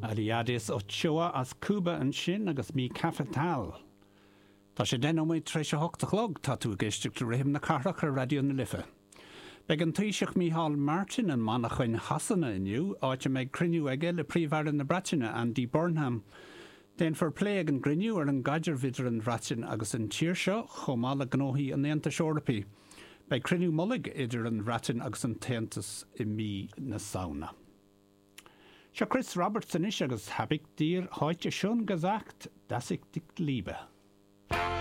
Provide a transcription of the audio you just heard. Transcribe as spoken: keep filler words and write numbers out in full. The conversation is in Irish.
Eliades Ochoa as Cuba ansin agus Mi Cafetal. Tá sé deich nóiméad tar éis a hocht a chlog tá tú ag éisteacht le Rithim na Cathrach ar Raidió na Life. Beidh an Taoiseach Micheál Martin i Manchain Shasana inniu áit a mbeidh cruinniú aige le Príomh-Aire na Breataine Andy Burnham. Déanfar plé ag an gcruinniú ar an gcaidreamh idir an Bhreatain agus an tír seo chomh maith le gnóthaí an Aontais Eorpaigh. Beidh cruinniú mullaigh idir an Bhreatain agus an tAontas i mí na Samhna. Seo Chris Roberts anois agus Hab ich dir heute schon gesagt, dass ich dich liebe.